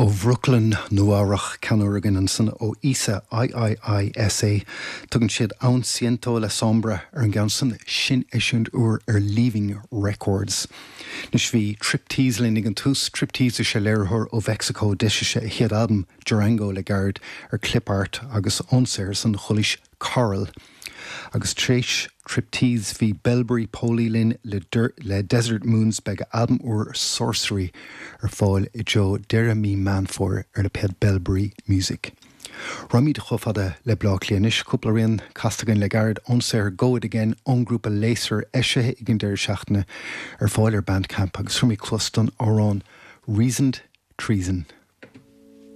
Ó Bhrooklyn, Nua-Eabhrac, ceann úr againn ansan ó Iisa, IIISA. Tugann siad Aún Siento La Sombra ar an gceann san, sin eisiúint úr ar Leaving Records. Anois bhí Triptease linn ag an tús. Triptease is ea léiritheoir ó Mheicsiceo. D'eisigh sé a chéad albam, Durango, le gairid ar Clipart agus ón saothar san chualaís Coral. Agus tar éis Triptease bhí Belbury Poly linn le le Desert Moons. Beidh a albam úr Sorcery ar fáil i dtreo deireadh mí Meán Fómhair ar lipéad Belbury Music. Raghaimid chomh fada le Bleá Cliath anois. Cúpla rian casta againn le gairid ón saothar Go It Again ón ngrúpa Laser eisithe ag an deireadh seachtaine ar fáil ar Bandcamp agus tabharfaimid cluas don amhrán Reasoned Treason.